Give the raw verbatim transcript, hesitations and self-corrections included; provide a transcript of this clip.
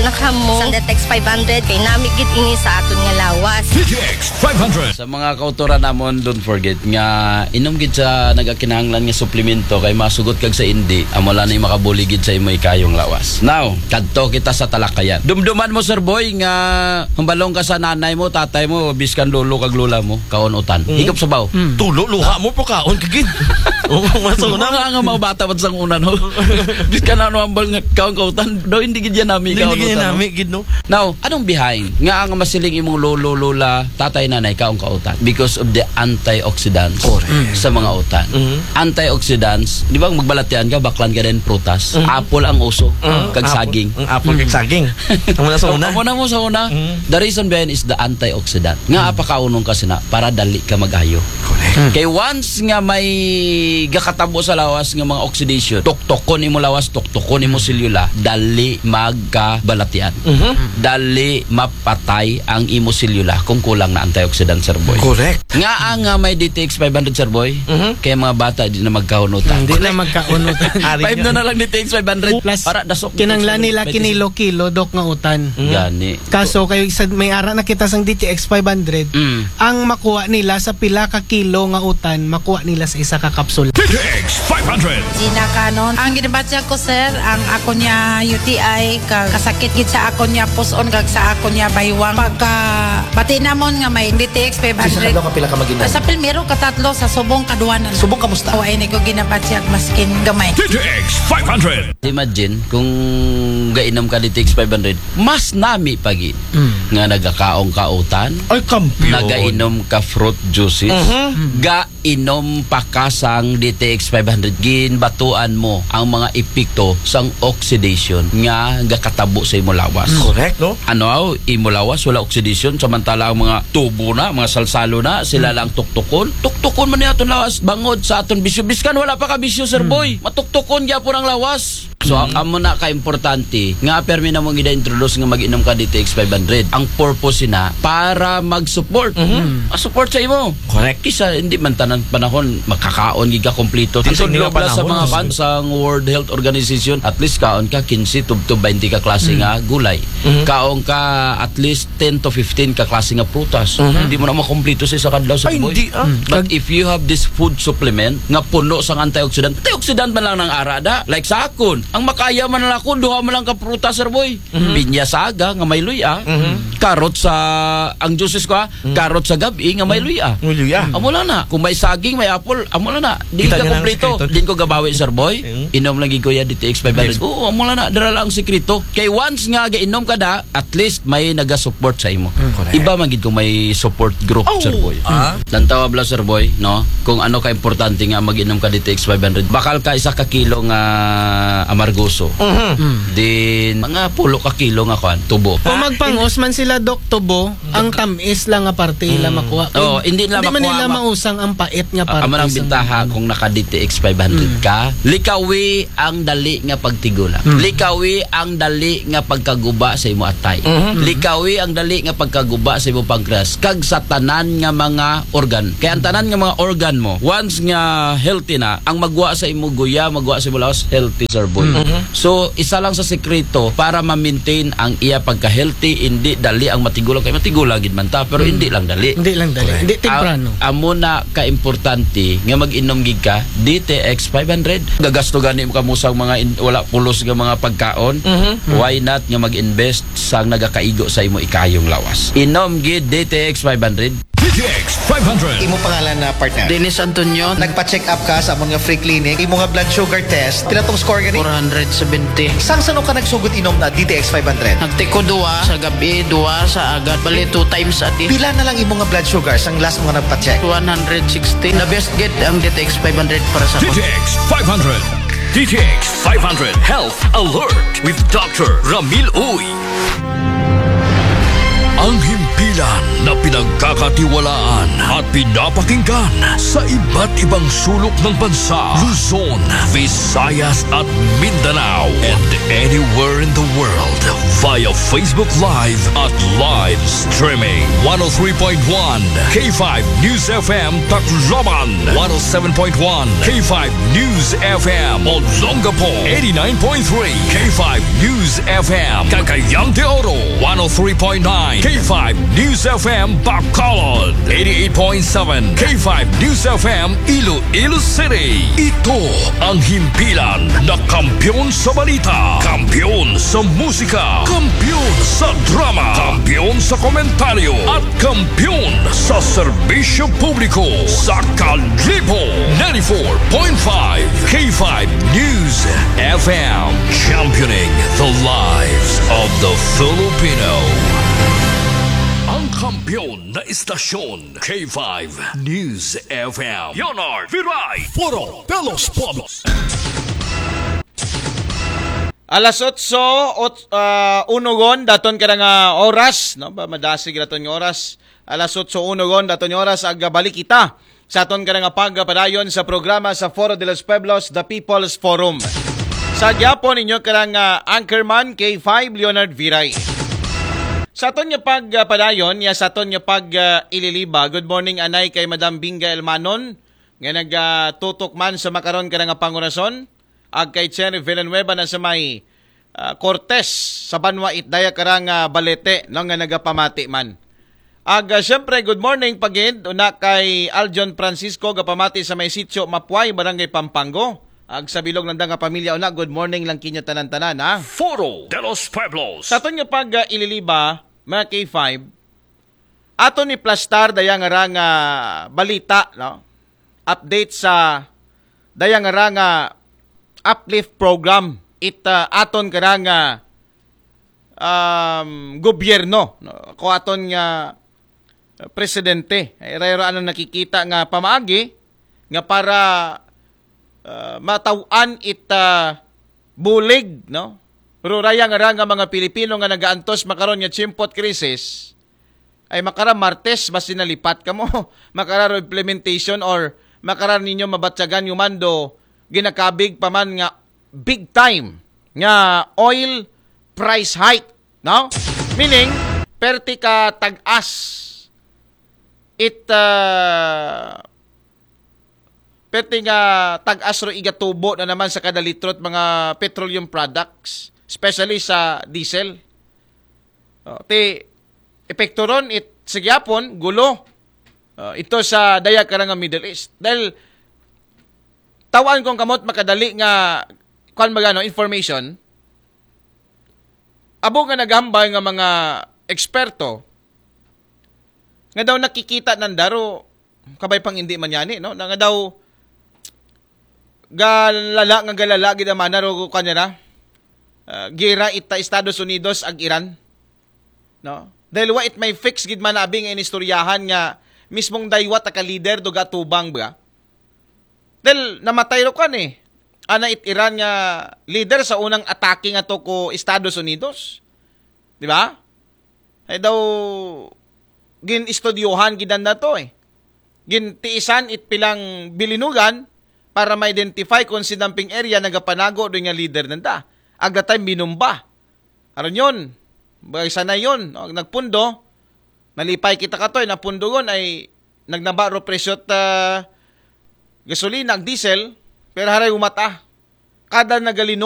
Nakamo. Sa Detex five hundred, kay nami gid ini sa aton nga lawas. D T X five hundred. Sa mga kautoran namon, don't forget nga inom gid sa nagakinahanglan nga suplemento kay masugot kag sa indi, amo lang ni makabulig gid sa imo ikayong lawas. Now, kadto kita sa talakayan. Dumduman mo, Sir Boy, nga humbalong ka sa nanay mo, tatay mo, biskan lolo kag lola mo, kaon utan. Mm. Higop sabaw. Mm. Tulo, luha mo po kaon kagid. Oo, mas Mga una. Nga, nga mga bata pa sa una, no? Biskan ano ang bal nga kaon ka utan, daw hindi gid yan nami Hindi kaon gid yan utan, no? Nami gid, no? Now, anong behind nga ang masiling imong lolo, lola, tatay, nanay, kaon ka utan? Because of the antioxidants Correct. Sa mga utan. Mhm. Antioxidants, di ba, magbalatian ka, baklan ka din, prutas, Mhm. apple ang uso, Mhm. kag Apple. Saging. Ang apple kag Mhm. saging. Ang muna sa una. Amo na mo sa una. Mhm. The reason behind is the antioxidant. Nga Mhm. apakaunong ka sina, para dali ka mag-ayo. Correct. Mhm. Kay once nga may gakatabo sa lawas nga mga oxidation, tuktukon imo lawas, tuktukon imo Mhm. selula, dali magkabalatian. Mhm. Dali mapatay ang imo selula kung kulang na antioxidant, Sir Boy. Correct. Nga ang, ah, may D T X five hundred, Sir Boy, Mhm. kay mga bata di na magkaon utan. Hindi na magkaon utan. Ari Five niya. Na na lang D T X five hundred. Plus, para dasok kinanglan nila kinilo-kilo, Dok, nga utan. Mhm. Gani. Kaso, kayo isa, may ara na kita sang D T X five hundred. Mm. Ang makuha nila sa pila ka kilo nga utan, makuha nila sa isa ka kapsula. D T X five hundred. Gina Canon. Ang ginabatyag ko, sir, ang ako niya U T I, ka, kasakit gid sa ako niya puson, kag sa ako niya baywang. Pagka, bati namon nga may D T X five hundred. Sa kapila ka mag-inom? Sa pilmero, katatlo, sa subong, kaduwanan. Subong, kamusta? O, ay, ni ko ginabatyag, maskin gamay. D T X five hundred. Imagine, kung gainom ka D T X five hundred, mas nami pagi Mm. nga nagakaong ka utan, Ay, kampiyon. Nagainom ka fruit juices, Mhm. gainom pa ka sang D T X five hundred, ginbatuan mo ang mga epekto sang oxidation nga gakatabo sa imo lawas. Mm. Correct, no? Ano, aw, imo lawas, wala oxidation, samantala ang mga tubo na, mga salsalo na, sila Mm. lang tuktukon. Tuktukon man ni aton lawas, bangod sa aton bisyo. Biskan wala pa ka bisyo, Sir Mm. Boy. Matuktukon gyapon ang lawas. So, Mm. amo na ka importante nga permi na mong gida-introduce nga mag-inom ka D T X five hundred. Ang purpose na para mag-support. Mhm. Ah, support sa imo. Correct. Kisa hindi man tanan panahon makakaon gid ka kompleto. Di sa Ato nga nila panahon, sa mga mas kan sa World Health Organization, at least kaon ka kinse tubtob baynte ka klase Mm. nga gulay. Mhm. Kaon ka at least ten to fifteen ka klase nga prutas. Mhm. Hindi mo na makompleto sa isa ka adlaw, Sir Ay, Boy. Hindi, ah. Mm. But Kag- if you have this food supplement nga puno sang antioxidant, antioxidant man lang nang ara da. Like sa akon, ang makaya man lang ako, duha man lang ka prutas, Sir Boy. Mhm. Pinya sa aga nga may luya, Mhm. karot sa, ang juices ko, ha, Mhm. karot sa gabi nga may Mm. luya. May luya. Amo lang na. Kung may saging, may apple, amo lang na. Di Kita ka niyo na ang kompleto. Sekreto. Din ko gabawi, Sir Boy. Mm. Inom lagi ko ya D T X five hundred. Yes. Oo, amo lang na. Dara lang ang sekreto. Kay once nga gainom ka da, at least may naga-support sa imo. Mm. Correct. Iba man gid kung may support group, Oh. Sir Boy. Ah. Lantaw abla, Sir Boy, no? Kung ano ka importante nga mag-inom ka D T X five hundred. Bakal ka isa ka kilo nga amargoso. Mhm. Mm. Din, mga pulo ka kilo nga kwan, tubo. Kung magpangos man sila, Dok, tubo, ang tamis lang nga parte ila Mm. makuha. Oo, hindi nila Hindi man makuha, nila ma- mausang ang pait nga Ah, parte amo nang sa bintaha mga kung naka D T X five hundred Mm. ka. Likawi ang dali nga pagtigulang. Mm. Likawi ang dali nga pagkaguba sa imo atay. Mhm. Likawi ang dali nga pagkaguba sa imo pancreas. Kag sa tanan nga mga organ. Kay ang tanan nga mga organ mo, once nga healthy na, ang magwa sa imo guya, magwa sa imo lawas, healthy, Sir Boy. Mhm. So, isa lang sa sekreto para ma-maintain ang iya pagka-healthy, hindi dali ang matigulang. Kay matigulang gid man ta, pero Mm. hindi lang dali. Hindi lang dali. Correct. Hindi temprano. A-, amo na ka-importante nga mag-inom gid ka, D T X five hundred. Gagasto gani mo kamo sa mga in-, wala pulos nga mga pagkaon. Mhm. Why not nga mag-invest sa nagakaigo sa imo ikayong lawas? Inom gid D T X five hundred. D T X five hundred. Imo pangalan na partner? Dennis Antonio. Nagpa-check up ka sa amon nga free clinic. Imo nga blood sugar test, pila tong score gani? Four hundred seventy. Sang sano ka nagsugod inom na D T X five hundred? Nagtiko duwa sa gabi, duwa sa agad. Bali, two times a day. Pila na lang imo nga blood sugar sang last mo nga nagpa-check? One hundred sixty. The best gid ang D T X five hundred para sa D T X five hundred. D T X five hundred Health Alert with Doctor Ramil Uy. Ang himpilan na pinagkakatiwalaan at pinapakinggan sa iba't ibang sulok ng bansa, Luzon, Visayas at Mindanao, and anywhere in the world via via Facebook Live at live streaming. one oh three point one K five News F M Tacloban, one oh seven point one K five News F M Olongapo, eighty-nine point three K five News F M Cagayan de Oro, one oh three point nine K five News F M Bacolod, eighty-eight point seven K five News F M Iloilo City. Ito ang himpilan na kampiyon sa balita, kampiyon sa musika, kampiyon sa drama, kampiyon sa komentaryo, at kampiyon sa serbisyo publiko sa Kalibo ninety-four point five K five News F M. Championing the lives of the Filipino. Ang kampiyon na istasyon, K five News F M. Leonard Viray. Foro de los Pueblos. Alas otso, ot, ah, unugon daton kada nga oras, no? Ba madasig daton nga oras. Alas otso unugon daton nga oras, ag balik kita sa aton kada nga pagpadayon sa programa sa Foro de los Pueblos, The People's Forum. Sa gyapon inyo kada nga anchorman, K five Leonard Viray. Sa aton nga pagpadayon, ya sa aton nga pag ah, ililiba. Good morning anay kay Madam Binga Elmanon nga nagatutok man sa makaron kada nga pangorason. Ag kay Cherry Villanueva na sa may ah, Cortes sa banwa it daya karang ah, balete, no, nga nagapamati man. Ag ah, siyempre, good morning pagid una kay Aljon Francisco, gapamati sa may Sitio Mapuay, Barangay Pampango. Ag sa bilog nanda nga pamilya una, good morning lang kinyo tanan-tanan, ha. Foro de los Pueblos. Sa aton nga pag ah, ililiba, mga K five, aton ni plastar daya nga rang ah, balita, no? Update sa daya nga rang ah, uplift program it ah, aton karang ah, um, gobyerno, no? Ko aton nga presidente. Ay, rayro ano nakikita nga pamaagi nga para ah, mataw-an it ah, bulig, no? Pero raya nga ra nga mga Pilipino nga nagaantos makaron nga chimpot krisis, ay makara Martes basi nalipat kamo, makara ro implementation or makara ninyo mabatyagan yung mando, ginakabig pa man nga big time nga oil price hike, no? Meaning, perti ka tag-as it ah, perti nga tag-as ro igatubo na naman sa kada litro it mga petroleum products, especially sa diesel. Oh, ti epekto ron it sa gyapon gulo, oh, ito sa daya karang nga Middle East. Dahil tawaan kong kamot makadali nga kuan magano information, abo nga naghambal nga mga eksperto nga daw nakikita nanda ro kabay pang hindi man yani, no? Na nga daw galala nga galala gid ang mana ro kanya na. Ah, gira ita Estados Unidos ag Iran, no? Dahil wa it may fix gid man abi nga inistoryahan nga mismong daywa ta ka leader do gatubang ba? Dahil namatay ro kan eh. Ana it Iran nga leader sa unang atake nga to ko Estados Unidos. Di ba? Ay daw gin-istudyohan gidan na to eh. Gintiisan it pilang bilinugan para ma-identify kung sinamping area nagapanago do nga leader nanda. Agda time binumba. Aron yun. Bagay sana yun. No? Nagpundo. Nalipay kita katoy. Napundogon ay nagnaba ro presyo ta gasolina, ag diesel. Pero haray umata. Kada nagalino